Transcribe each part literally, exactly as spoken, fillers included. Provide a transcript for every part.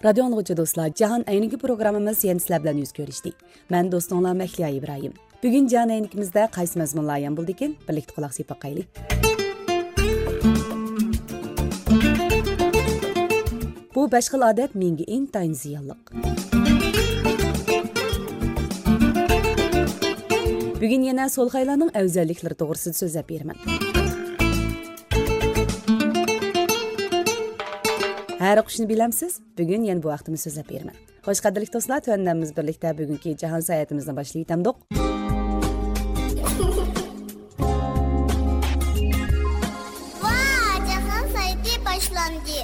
رادىيو ئاڭلىغۇچى دوستلار، جاھان ئەينىكى پروگراممىمىز يەنە سىلەر بىلەن يۈز كۆرۈشتى. مەن دوستۇڭلار مەھلىيا ئىبراھىم. بۈگۈن جاھان ئەينىكىمىزدە قايسى مەزمۇنلار ئايان بولىدىكىن؟ بىرلىكتە قۇلاق سېلىپ باقايلى. بۇ بەش خىل ئادەت مېڭىگە ئىنتايىن زىيانلىق. بۈگۈن يەنە سولخايلارنىڭ ئەۋزەللىكلىرى توغرىسىدا سۆزلەپ بېرىمەن. ھەر ئوقۇشنى بىلەمسىز؟ بۈگۈن يەنە بۇ ھەقتىمۇ سۆزلەپ بېرىمەن. خوش، قەدىرلىك دوستلار، تۆۋەندە بىز بىرلىكتە بۈگۈنكى جاھان ساياھىتىمىزنى باشلاۋېتەمدۇق. ۋا، جاھان ساياھىتى باشلاندى.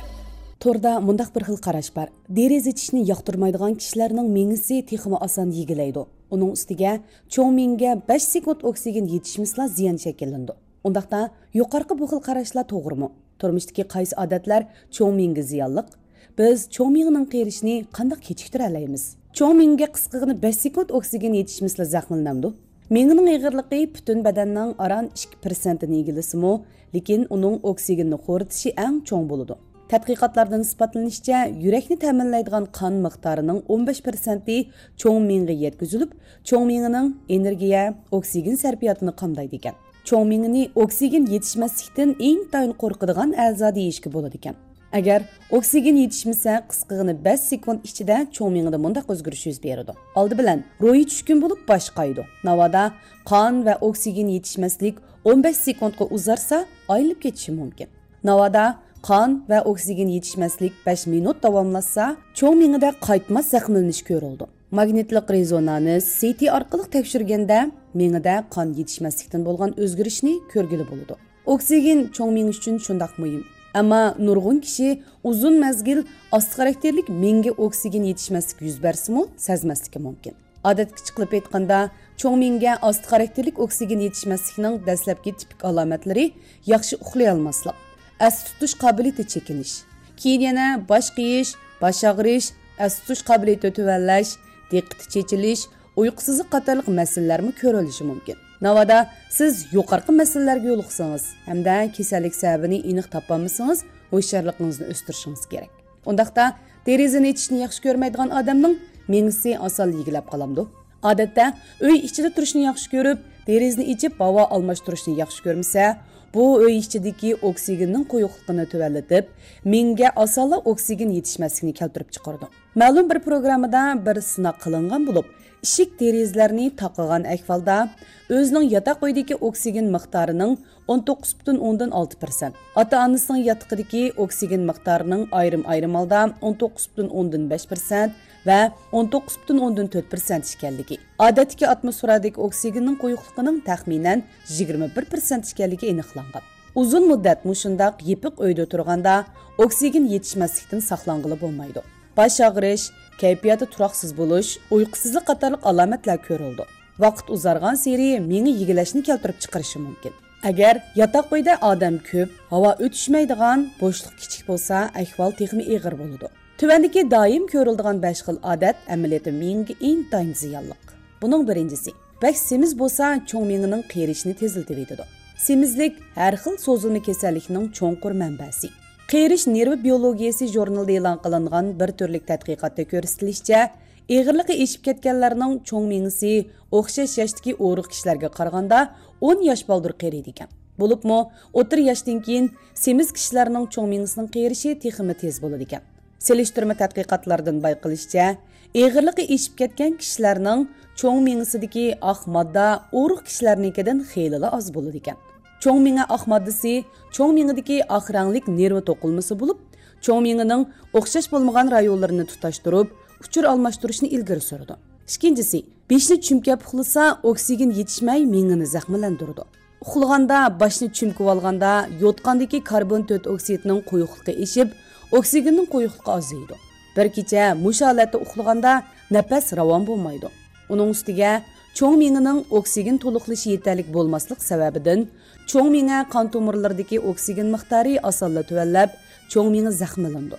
توردا مۇنداق بىر خىل قاراش بار. دېرىزە ئېچىشنى ياقتۇرمايدىغان كىشىلەرنىڭ مېڭىسى تېخىمۇ ئاسان يېگىلەيدۇ. ئۇنىڭ ئۈستىگە چوڭ مېڭىگە بەش سېكۇنت ئوكسىگېن يېتىشمىسىلا زىيان شەكىللىنىدۇ. ئۇنداقتا يۇقىرىقى بۇ خىل قاراشلار توغرىمۇ؟ تۇرمۇشتىكى قايسى ئادەتلەر چوڭ مېڭىگە زىيانلىق؟ بىز چوڭ مېڭىنىڭ قېرىشىنى قانداق كېچىكتۈرەلەيمىز؟ چوڭ مېڭىگە قىسقىغىنە بەش سېكۇنت ئوكسىگېن يېتىشمىسىلا زەخىملىنەمدۇ؟ مېڭىنىڭ ئېغىرلىقى پۈتۈن بەدەننىڭ ئاران ئىككى پىرسەنتىنى ئىگىلىسىمۇ، لېكىن ئۇنىڭ ئوكسىگېننى خورىتىشى ئەڭ چوڭ بولىدۇ. تەتقىقاتلاردىن ئىسپاتلىنىشىچە، يۈرەكنى تەمىنلەيدىغان قان مىقدارىنىڭ ئون بەش پىرسەنتى چوڭ مېڭىگە يەتكۈزۈلۈپ، چوڭ مېڭىنىڭ ئېنېرگىيە، ئوكسىگېن سەرپىياتىنى قامدايدىكەن. چوڭ مېڭىنى ئوكسىگېن يېتىشمەسلىكتىن ئىنتايىن قورقىدىغان ئەزا دېيىشكە بولىدىكەن. ئەگەر ئوكسىگېن يېتىشمىسە، قىسقىغىنە بەش سېكۇنت ئىچىدە چوڭ مېڭىدە مۇنداق ئۆزگىرىش يۈز بېرىدۇ. ئالدى بىلەن روھى چۈشكۈن بولۇپ باش قايىدۇ. ناۋادا قان ۋە ئوكسىگېن يېتىشمەسلىك ئون بەش سېكۇنتقا ئۇزارسا، ئايلىنىپ كېتىشى مۇمكىن. ناۋادا قان ۋە ئوكسىگېن يېتىشمەسلىك بەش مىنۇت داۋاملاشسا، چوڭ مېڭىدە قايتماس زەخىملىنىش كۆرۈلىدۇ. ماگنىتلىق رېزونانس، سىتى ئارقىلىق تەكشۈرگەندە، مېڭىدە قان يېتىشمەسلىكتىن بولغان ئۆزگىرىشنى كۆرگىلى بولىدۇ. ئوكسىگېن چوڭ مېڭە ئۈچۈن شۇنداق مۇھىم. ئەمما نۇرغۇن كىشى ئۇزۇن مەزگىل ئاستا خاراكتېرلىك مېڭىگە ئوكسىگېن يېتىشمەسلىك يۈز بەرسىمۇ، سەزمەسلىكى مۇمكىن. ئادەتتىكىچە قىلىپ ئېيتقاندا، چوڭ مېڭىگە ئاستا خاراكتېرلىك ئوكسىگېن يېتىشمەسلىكنىڭ دەسلەپكى تىپىك ئالامەتلىرى ياخشى ئۇخلىيالماسلىق، ئەستە تۇتۇش قابىلىيىتى چېكىنىش، كېيىن يەنە باش قېيىش، باش ئاغرىش، ئەستە تۇتۇش قابىلىيىتى تۆۋەنلەش، دىققىتى چېچىلىش، ئۇيقۇسىزلىق قاتارلىق مەسىلىلەرمۇ كۆرۈلۈشى مۇمكىن. ناۋادا سىز يۇقىرىقى مەسىلىلەرگە يولۇقسىڭىز ھەمدە كېسەللىك سەۋەبىنى ئېنىق تاپالمىسىڭىز، ھوشيارلىقىڭىزنى ئۆستۈرۈشىڭىز كېرەك. ئۇنداقتا دېرىزىنى ئېچىشنى ياخشى كۆرمەيدىغان ئادەمنىڭ مېڭىسى ئاسانلا يېگىلەپ قالامدۇ؟ ئادەتتە ئۆي ئىچىدە تۇرۇشنى ياخشى كۆرۈپ، دېرىزىنى ئېچىپ ھاۋا ئالماشتۇرۇشنى ياخشى كۆرمىسە، بۇ ئۆي ئىچىدىكى ئوكسىگېننىڭ قويۇقلۇقىنى تۆۋەنلىتىپ، مېڭىگە ئاسانلا ئوكسىگېن يېتىشمەسلىكنى كەلتۈرۈپ چىقىرىدۇ. مەلۇم بىر پروگراممىدا بىر سىناق قىلىنغان بولۇپ، ئىشىك دېرىزىلەرنى تاقىغان ئەھۋالدا ئۆزىنىڭ ياتاق ئۆيىدىكى ئوكسىگېن مىقدارىنىڭ ئون توققۇز پۈتۈن ئوندىن ئالتە پىرسەنت، ئاتا-ئانىسىنىڭ ياتىقىدىكى ئوكسىگېن مىقدارىنىڭ ئايرىم-ئايرىم ھالدا ئون توققۇز پۈتۈن ئوندىن بەش پىرسەنت ۋە ئون توققۇز پۈتۈن ئوندىن تۆت پىرسەنت ئىكەنلىكى، ئادەتتىكى ئاتموسفېرادىكى ئوكسىگېننىڭ قويۇقلۇقىنىڭ تەخمىنەن يىگىرمە بىر پىرسەنت ئىكەنلىكى ئېنىقلانغان. ئۇزۇن مۇددەت مۇشۇنداق يېپىق ئۆيدە تۇرغاندا ئوكسىگېن يېتىشمەسلىكتىن ساقلانغىلى بولمايدۇ. باش ئاغرىش، كەيپىياتى تۇراقسىز بولۇش، ئۇيقۇسىزلىق قاتارلىق ئالامەتلەر كۆرۈلىدۇ. ۋاقىت ئۇزارغانسېرى مېڭە يېگىلەشنى كەلتۈرۈپ چىقىرىشى مۇمكىن. ئەگەر ياتاق ئۆيدە ئادەم كۆپ، ھاۋا ئۆتۈشمەيدىغان، بوشلۇق كىچىك بولسا، ئەھۋال تېخىمۇ ئېغىر بولىدۇ. تۆۋەندىكى دائىم كۆرۈلىدىغان بەش خىل ئادەت ئەمەلىيەتتە مېڭىگە ئىنتايىن زىيانلىق. بۇنىڭ بىرىنچىسى، بەك سېمىز بولسا، چوڭ مېڭىنىڭ قېرىشىنى تېزلىتىۋېتىدۇ. سېمىزلىك ھەر خىل سوزۇلما كېسەللىكنىڭ چوڭقۇر مەنبەسى. قېرىش نېرۋا بىيولوگىيەسى ژۇرنىلىدا ئېلان قىلىنغان بىر تۈرلۈك تەتقىقاتتا كۆرسىتىلىشىچە، ئېغىرلىقى ئېشىپ كەتكەنلەرنىڭ چوڭ مېڭىسى ئوخشاش ياشتىكى ئورۇق كىشىلەرگە قارىغاندا ئون ياش بالدۇر قېرىيدىكەن. بولۇپمۇ ئوتتۇرا ياشتىن كېيىن سېمىز كىشىلەرنىڭ چوڭ مېڭىسىنىڭ قېرىشى تېخىمۇ تېز بولىدىكەن. سېلىشتۇرما تەتقىقاتلاردىن بايقىلىشىچە، ئېغىرلىقى ئېشىپ كەتكەن كىشىلەرنىڭ چوڭ مېڭىسىدىكى ئاق ماددا ئورۇق كىشىلەرنىڭكىدىن خېلىلا ئاز بولىدىكەن. چوڭ مېڭە ئاق ماددىسى چوڭ مېڭىدىكى ئاق رەڭلىك نېرۋا توقۇلمىسى بولۇپ، چوڭ مېڭىنىڭ ئوخشاش بولمىغان رايونلىرىنى تۇتاشتۇرۇپ، ئۇچۇر ئالماشتۇرۇشنى ئىلگىرى سۈرىدۇ. ئىككىنچىسى، بېشىنى چۈمكەپ ئۇخلىسا، ئوكسىگېن يېتىشمەي مېڭىنى زەخىملەندۈرىدۇ. ئۇخلىغاندا باشنى چۈمكىۋالغاندا يوتقاندىكى كاربون تۆت ئوكسىدنىڭ قويۇقلۇقى ئېشىپ، ئوكسىگېننىڭ قويۇقلۇقى ئازىيىدۇ. بىر كېچە مۇشۇ ھالەتتە ئۇخلىغاندا نەپەس راۋان بولمايدۇ. ئۇنىڭ ئۈستىگە چوڭ مېڭىنىڭ ئوكسىگېن تولۇقلىشى يېتەرلىك بولماسلىق سەۋەبىدىن چوڭ مېڭە قان تومۇرلىرىدىكى ئوكسىگېن مىقدارى ئاسانلا تۆۋەنلەپ، چوڭ مېڭە زەخىملىنىدۇ.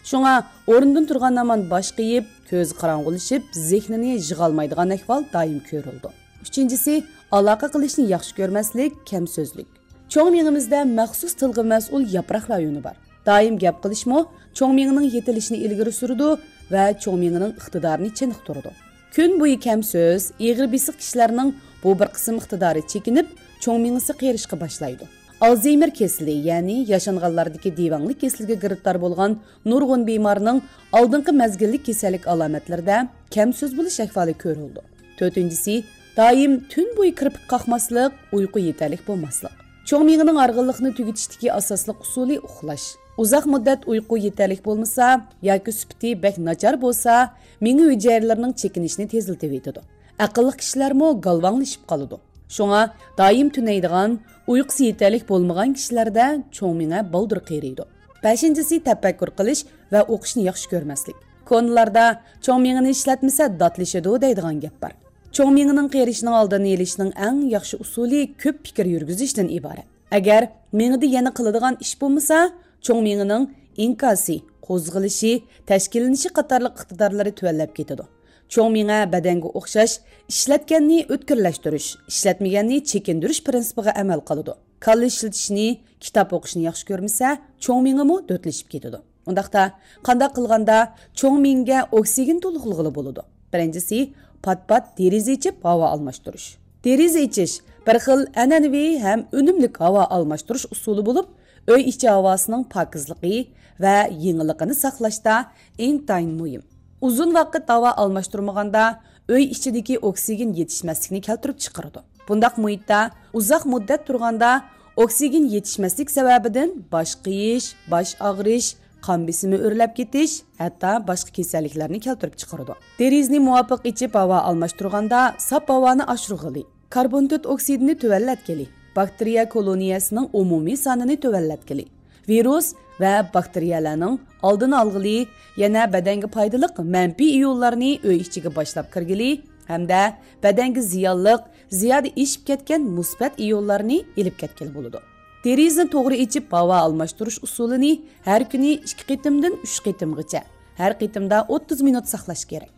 شۇڭا ئورنىدىن تۇرغان ھامان باش قېيىپ، كۆزى قاراڭغۇلىشىپ، زېھنىنى يىغالمايدىغان ئەھۋال دائىم كۆرۈلىدۇ. ئۈچىنچىسى، ئالاقە قىلىشنى ياخشى كۆرمەسلىك، كەم سۆزلۈك. چوڭ مېڭىمىزدە مەخسۇس تىلغا مەسئۇل ياپراق رايونى بار. دائىم گەپ قىلىشمۇ چوڭ مېڭىنىڭ يېتىلىشىنى ئىلگىرى سۈرىدۇ ۋە چوڭ مېڭىنىڭ ئىقتىدارىنى چېنىقتۇرىدۇ. كۈن بويى كەم سۆز، ئېغىر بېسىق كىشىلەرنىڭ بۇ بىر قىسىم ئىقتىدارى چېكىنىپ، چوڭ مېڭىسى قېرىشقا باشلايدۇ. ئالزېيمېر كېسىلى، يەنى ياشانغانلاردىكى دېۋەڭلىك كېسىلىگە گىرىپتار بولغان نۇرغۇن بىمارنىڭ ئالدىنقى مەزگىللىك كېسەللىك ئالامەتلىرىدە كەم سۆز بولۇش ئەھۋالى كۆرۈلىدۇ. تۆتىنچىسى، دائىم تۈن بويى كىرپىك قاقماسلىق، ئۇيقۇ يېتەرلىك بولماسلىق. چوڭ مېڭىنىڭ ھارغىنلىقنى تۈگىتىشتىكى ئاساسلىق ئۇسۇلى ئۇخلاش. ئۇزاق مۇددەت ئۇيقۇ يېتەرلىك بولمىسا ياكى سۈپىتى بەك ناچار بولسا، مېڭە ھۈجەيرىلىرىنىڭ چېكىنىشىنى تېزلىتىۋېتىدۇ. ئەقىللىق كىشىلەرمۇ گالۋاڭلىشىپ قالىدۇ. شۇڭا دائىم تۈنەيدىغان، ئۇيقۇسى يېتەرلىك بولمىغان كىشىلەردە چوڭ مېڭە بالدۇر قېرىيدۇ. بەشىنچىسى، تەپەككۇر قىلىش ۋە ئوقۇشنى ياخشى كۆرمەسلىك. كونىلاردا چوڭ مېڭىنى ئىشلەتمىسە داتلىشىدۇ دەيدىغان گەپ بار. چوڭ مېڭىنىڭ قېرىشىنىڭ ئالدىنى ئېلىشنىڭ ئەڭ ياخشى ئۇسۇلى كۆپ پىكىر يۈرگۈزۈشتىن ئىبارەت. ئەگەر مېڭىدە يەنە قىلىدىغان ئىش بولمىسا، چوڭ مېڭىنىڭ ئىنكاسى، قوزغىلىشى، تەشكىللىنىشى قاتارلىق ئىقتىدارلىرى تۆۋەنلەپ كېتىدۇ. چوڭ مېڭە بەدەنگە ئوخشاش ئىشلەتكەننى ئۆتكۈرلەشتۈرۈش، ئىشلەتمىگەننى چېكىندۈرۈش پىرىنسىپىغا ئەمەل قىلىدۇ. كاللا ئىشلىتىشنى، كىتاب ئوقۇشنى ياخشى كۆرمىسە، چوڭ مېڭىمۇ دۆتلىشىپ كېتىدۇ. ئۇنداقتا، قانداق قىلغاندا چوڭ مېڭىگە ئوكسىگېن تولۇقلىغىلى بولىدۇ؟ بىرىنچىسى، پات-پات دېرىزە ئېچىپ ھاۋا ئالماشتۇرۇش. دېرىزە ئېچىش بىر خىل ئەنئەنىۋى ھەم ئۈنۈملۈك ھاۋا ئالماشتۇرۇش ئۇسۇلى بولۇپ، ئۆي ئىچى ھاۋاسىنىڭ پاكىزلىقى ۋە يېڭىلىقىنى ساقلاشتا ئىنتايىن مۇھىم. ئۇزۇن ۋاقىت ھاۋا ئالماشتۇرمىغاندا، ئۆي ئىچىدىكى ئوكسىگېن يېتىشمەسلىكنى كەلتۈرۈپ چىقىرىدۇ. بۇنداق مۇھىتتا ئۇزاق مۇددەت تۇرغاندا، ئوكسىگېن يېتىشمەسلىك سەۋەبىدىن باش قېيىش، باش ئاغرىش، قان بېسىمى ئۆرلەپ كېتىش، ھەتتا باشقا كېسەللىكلەرنى كەلتۈرۈپ چىقىرىدۇ. دېرىزىنى مۇۋاپىق ئېچىپ ھاۋا ئالماشتۇرغاندا، ساپ ھاۋانى ئاشۇرغىلى، كاربون تۆت ئوكسىدىنى تۆۋەنلەتكىلى، باكتېرىيە كولونىيەسىنىڭ ئومۇمىي سانىنى تۆۋەنلەتكىلى، ۋىرۇس ۋە باكتېرىيەلەرنىڭ ئالدىنى ئالغىلى، يەنە بەدەنگە پايدىلىق مەنپىي ئىيونلارنى ئۆي ئىچىگە باشلاپ كىرگىلى ھەمدە بەدەنگە زىيانلىق، زىيادە ئېشىپ كەتكەن مۇسبەت ئىيونلارنى ئېلىپ كەتكىلى بولىدۇ. دېرىزىنى توغرا ئېچىپ ھاۋا ئالماشتۇرۇش ئۇسۇلىنى ھەر كۈنى ئىككى قېتىمدىن ئۈچ قېتىمغىچە، ھەر قېتىمدا ئوتتۇز مىنۇت ساقلاش كېرەك.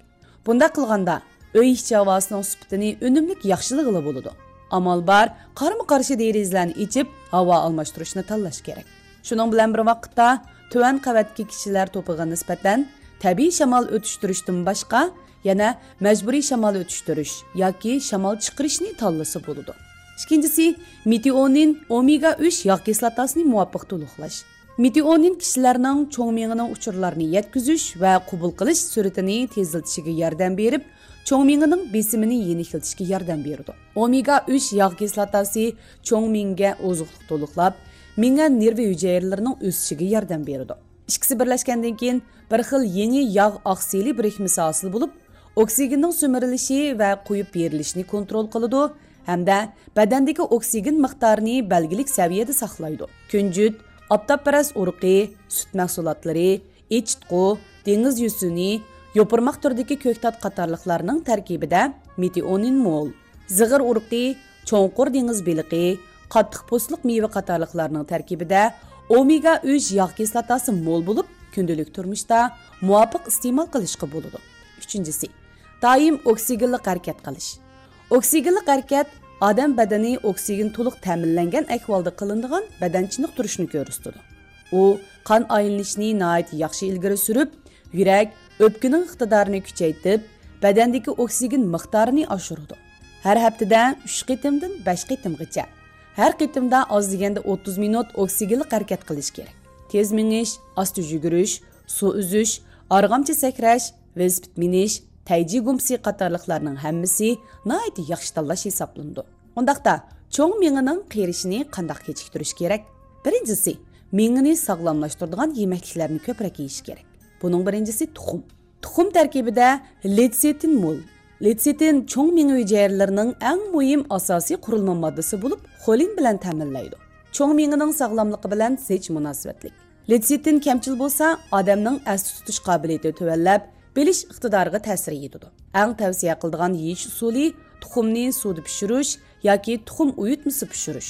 بۇنداق قىلغاندا، ئۆي ئىچى ھاۋاسىنىڭ سۈپىتىنى ئۈنۈملۈك ياخشىلىغىلى بولىدۇ. ئامال بار، قارمۇ قارشى دېرىزىلەرنى ئېچىپ، ھاۋا ئالماشتۇرۇشنى تاللاش كېرەك. شۇنىڭ بىلەن بىر ۋاقىتتا، تۆۋەن قەۋەتتىكى كىشىلەر توپىغا نىسبەتەن تەبىئىي شامال ئۆتۈشتۈرۈشتىن باشقا، يەنە مەجبۇرىي شامال ئۆتۈشتۈرۈش ياكى شامال چىقىرىشنى تاللىسا بولىدۇ. ئىككىنچىسى، مېتىئونىن، ئومېگا ئۈچ ياغ كىسلاتاسىنى مۇۋاپىق تولۇقلاش. مېتىئونىن كىشىلەرنىڭ چوڭ مېڭىنىڭ ئۇچۇرلارنى يەتكۈزۈش ۋە قوبۇل قىلىش سۈرئىتىنى تېزلىتىشىگە ياردەم بېرىپ، چوڭ مېڭىنىڭ بېسىمىنى يېنىكلىتىشكە ياردەم بېرىدۇ. ئومېگا ئۈچ ياغ كىسلاتاسى چوڭ مېڭىگە ئوزۇقلۇق تولۇقلاپ، مېڭە نېرۋا ھۈجەيرىلىرىنىڭ ئۆسۈشىگە ياردەم بېرىدۇ. ئىككىسى بىرلەشكەندىن كېيىن، بىر خىل يېڭى ياغ ئاقسىلى بىرىكمىسى ھاسىل بولۇپ، ئوكسىگېننىڭ سۈمۈرۈلۈشى ۋە قويۇپ بېرىلىشىنى كونترول قىلىدۇ ھەمدە بەدەندىكى ئوكسىگېن مىقدارىنى بەلگىلىك سەۋىيەدە ساقلايدۇ. كۈنجۈت، ئاپتاپپەرەس ئۇرۇقى، سۈت مەھسۇلاتلىرى، ئېچىتقۇ، دېڭىز يۈسۈنى، يوپۇرماق تۈرىدىكى كۆكتات قاتارلىقلارنىڭ تەركىبىدە مېتىئونىن مول، زىغىر ئۇرۇقى، چوڭقۇر دېڭىز بېلىقى، قاتتىق پوستلۇق مېۋە قاتارلىقلارنىڭ تەركىبىدە ئومېگا ئۈچ ياغ كىسلاتاسى مول بولۇپ، كۈندىلىك تۇرمۇشتا مۇۋاپىق ئىستېمال قىلىشقا بولىدۇ. ئۈچىنچىسى، دائىم ئوكسىگېنلىق ھەرىكەت قىلىش. ئوكسىگېنلىق ھەرىكەت ئادەم بەدىنى ئوكسىگېن تولۇق تەمىنلەنگەن ئەھۋالدا قىلىنىدىغان بەدەن چېنىقتۇرۇشنى كۆرسىتىدۇ. ئۇ قان ئايلىنىشنى ناھايىتى ياخشى ئىلگىرى سۈرۈپ، يۈرەك، ئۆپكىنىڭ ئىقتىدارىنى كۈچەيتىپ، بەدەندىكى ئوكسىگېن مىقدارىنى ئاشۇرىدۇ. ھەر ھەپتىدە ئۈچ قېتىمدىن بەش قېتىمغىچە، ھەر قېتىمدا ئاز دېگەندە ئوتتۇز مىنۇت ئوكسىگېنلىق ھەرىكەت قىلىش كېرەك. تېز مېڭىش، ئاستا يۈگۈرۈش، سۇ ئۈزۈش، ئارغامچا سەكرەش، ۋېلىسىپىت مىنىش، تەيجى گۇمپىسى قاتارلىقلارنىڭ ھەممىسى ناھايىتى ياخشى تاللاش ھېسابلىنىدۇ. ئۇنداقتا، چوڭ مېڭىنىڭ قېرىشىنى قانداق كېچىكتۈرۈش كېرەك؟ بىرىنچىسى، مېڭىنى ساغلاملاشتۇرىدىغان يېمەكلىكلەرنى كۆپرەك يېيىش كېرەك. بۇنىڭ بىرىنچىسى تۇخۇم. تۇخۇم تەركىبىدە لېتسىتىن مول. لېتسىتىن چوڭ مېڭە ھۈجەيرىلىرىنىڭ ئەڭ مۇھىم ئاساسىي قۇرۇلما ماددىسى بولۇپ، خولىن بىلەن تەمىنلەيدۇ. چوڭ مېڭىنىڭ ساغلاملىقى بىلەن زىچ مۇناسىۋەتلىك. لېتسىتىن كەمچىل بولسا، ئادەمنىڭ ئەستە تۇتۇش قابىلىيىتى تۆۋەنلەپ، بىلىش ئىقتىدارىغا تەسىر يېتىدۇ. ئەڭ تەۋسىيە قىلىدىغان يېيىش ئۇسۇلى تۇخۇمنى سۇدا پىشۇرۇش ياكى تۇخۇم ئۇيۇتمىسى پىشۇرۇش.